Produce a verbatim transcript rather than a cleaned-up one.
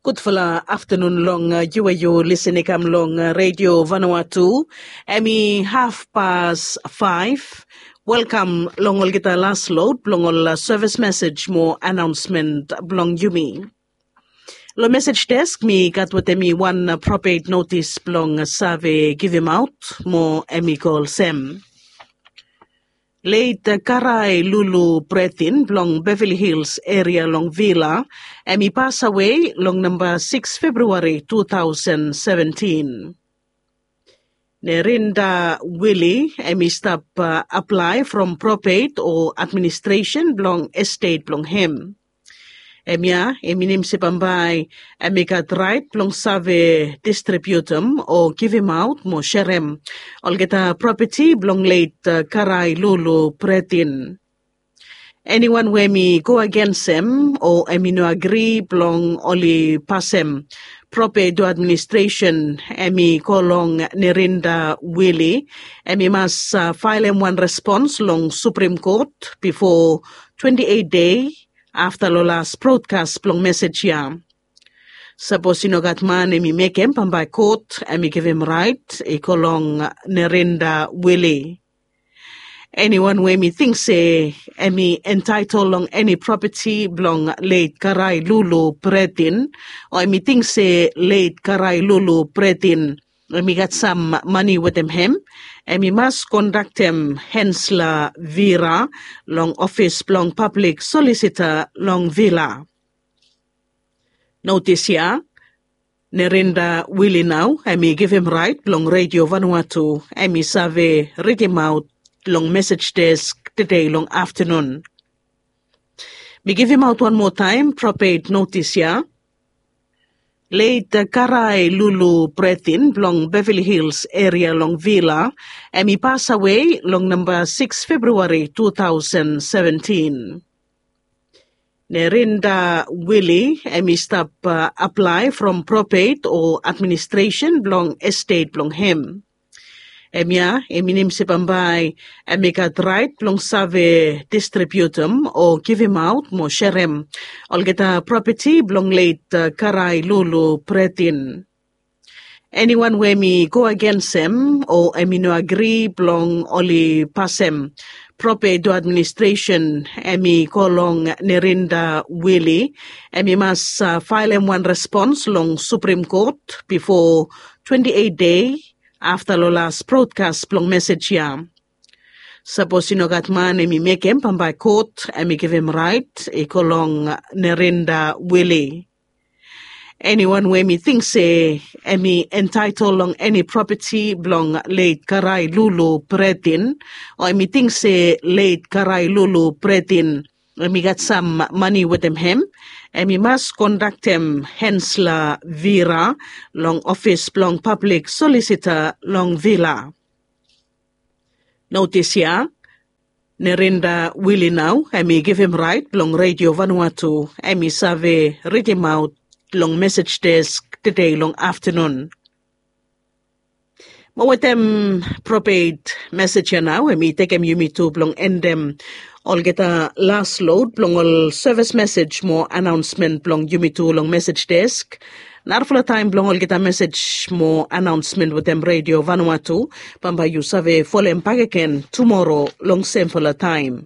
Gudfala aftanun long yu we yu lisin i kam long Redio Vanuatu. Em i hafpas faef. Welkam long olgeta las lod blong ol sevis mesej mo anaonsmen blong yumi. Long mesej desk mi gat wetem mi wan propet notis blong save givimaot mo em i go olsem. Leit Karai Lulu Bretin blong Beverly Hills eria long Vila, em i pasawe long namba siks Februari tu tausen seventin. Nerinda Wili em i stap aplae from propet o administresen blong estet blong hem. Em ya i minim se bambae em i gat raet blong save distribiutum o givimaot mo serem olgeta propeti blong leit Karai Lulu Bretin. Eniwan we em i go agens hem o em i no agri blong oli pasem propet o administresen, em i go long Nerinda Wili, em i mas faelem wan respons long Suprim Kot bifo twenti eit dei afta long las brodkas blong mesej ya. Sapos i no gat man em i mekem, bambae kot em i givim raet i go long Nerinda Wili. Eniwan we em i ting se em i entaetol long eni propeti blong leit Karai Lulu Bretin, o em i ting se leit Karai Lulu Bretin em i gat sam mane wetem hem, em i mas kondaktem Hensla Vira long ofis blong pablik solisita long Vila. Notis ya, Nerinda Wili nao em i givim raet blong Redio Vanuatu em i save ridimaot long mesej desk tede long aftanun. Mi givimaot wan moa taem propet notis ya. Leit Karai Lulu Bretin blong Beverly Hills eria long Vila, em i pasawe long namba siks Februari tu tausen seventin. Nerinda Wili em i stap aplae from propet o administresen blong estet blong hem. Em ya i minim se bambae em i gat raet blong save distribiutum o givimaot mo serem olgeta propeti blong leit Karai Lulu Bretin. Eniwan we em i go agens hem o em i no agri blong oli pasem propet o administresen, em i go long Nerinda Wili, em i mas faelem wan respons long Suprim Kot bifo twenti eit dei afta long las brodkas blong mesej ya. Sapos i no gat man em i mekem, bambae kot em i givim raet i go long Nerinda Wili. Eniwan we em i ting se em i entaetol long eni propeti blong leit Karai Lulu Bretin, o em i ting se leit Karai Lulu Bretin em i gat sam mane wetem hem, em i mas kondaktem Hensla Vira long ofis blong pablik solisita long Vila. Notis ya, Nerinda Wili nao em i givim raet blong Redio Vanuatu em i save ridimaot long mesej desk tede long aftanun. Mo wetem propet mesej ya nao em i tekem yumi tu blong endem olgeta las lod blong ol sevis mesej mo anaonsmen blong yumi tu long mesej desk. Narafala taem blong olgeta mesej mo anaonsmen wetem Redio Vanuatu, bambae yu save folem bakegen tumoro long semfala taem.